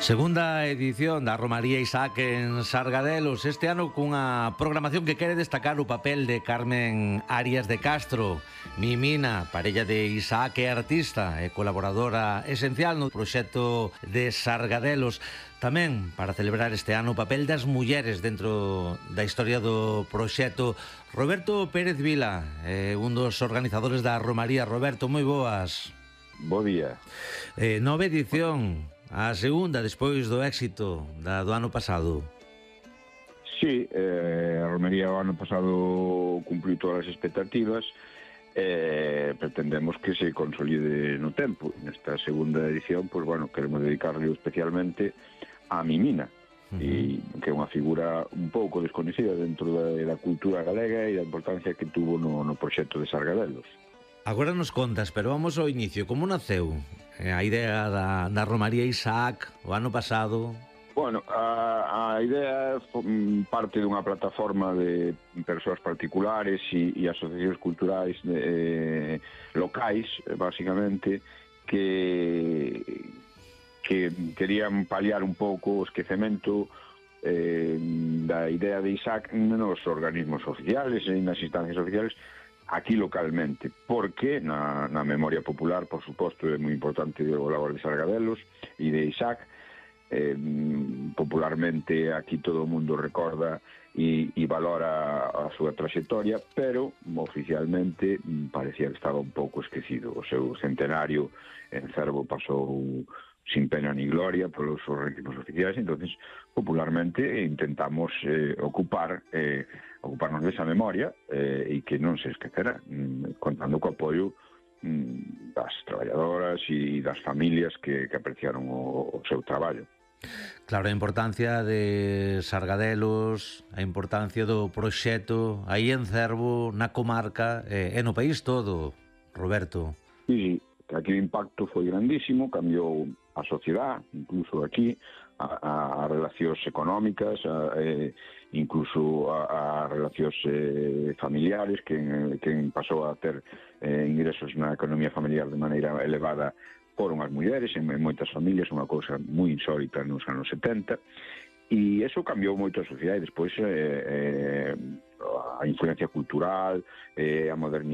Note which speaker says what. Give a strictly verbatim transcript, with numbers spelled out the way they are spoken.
Speaker 1: Segunda edición da Romaría Isaac en Sargadelos, este ano cunha programación que quere destacar o papel de Carmen Arias de Castro, Mimina, parella de Isaac e artista e colaboradora esencial no proxecto de Sargadelos. Tamén para celebrar este ano o papel das mulleres dentro da historia do proxecto. Roberto Pérez Vila, eh, un dos organizadores da Romaría. Roberto, moi boas.
Speaker 2: Bo día.
Speaker 1: Eh, nova edición, a segunda despois do éxito da, do ano pasado.
Speaker 2: Sí, eh, a Romería o ano pasado cumpliu todas as expectativas e eh, pretendemos que se consolide no tempo. Nesta segunda edición, pois, bueno, queremos dedicarle especialmente a Mimina, uh-huh. e, que é unha figura un pouco desconhecida dentro da, da cultura galega e da importancia que tuvo no, no proxecto de Sargadelos.
Speaker 1: Agora nos contas, pero vamos ao inicio. Como naceu a idea da, da Romaría Isaac o ano pasado?
Speaker 2: Bueno, a, a idea parte dunha plataforma de persoas particulares e, e asociacións culturais eh, locais, basicamente, que, que querían paliar un pouco o esquecemento eh, da idea de Isaac nos organismos oficiales e nas instancias oficiales, aquí localmente, porque na, na memoria popular, por suposto, é moi importante o labor de Sargadelos e de Isaac. Eh, popularmente aquí todo o mundo recorda e, e valora a súa trayectoria, pero oficialmente parecía que estaba un pouco esquecido. O seu centenario en Cervo pasou sin pena ni gloria polos organismos oficiais. Entonces, popularmente intentamos eh, ocupar eh, ocuparnos desa memoria eh, e que non se esquecerá, mm, contando co apoio mm, das traballadoras e das familias que, que apreciaron o, o seu traballo.
Speaker 1: Claro, a importancia de Sargadelos, a importancia do proxecto aí en Cervo, na comarca e, e no país todo, Roberto.
Speaker 2: Sí, sí, aquí o impacto foi grandísimo, cambiou a sociedade, incluso aquí, a, a relacións económicas, a, eh, incluso a, a relacións eh, familiares, que, que pasou a ter eh, ingresos na economía familiar de maneira elevada foron as mulleres, en, en moitas familias, unha cousa moi insólita nos anos setenta, e eso cambiou moito a sociedade. Despois eh, eh, a influencia cultural, eh, a modernización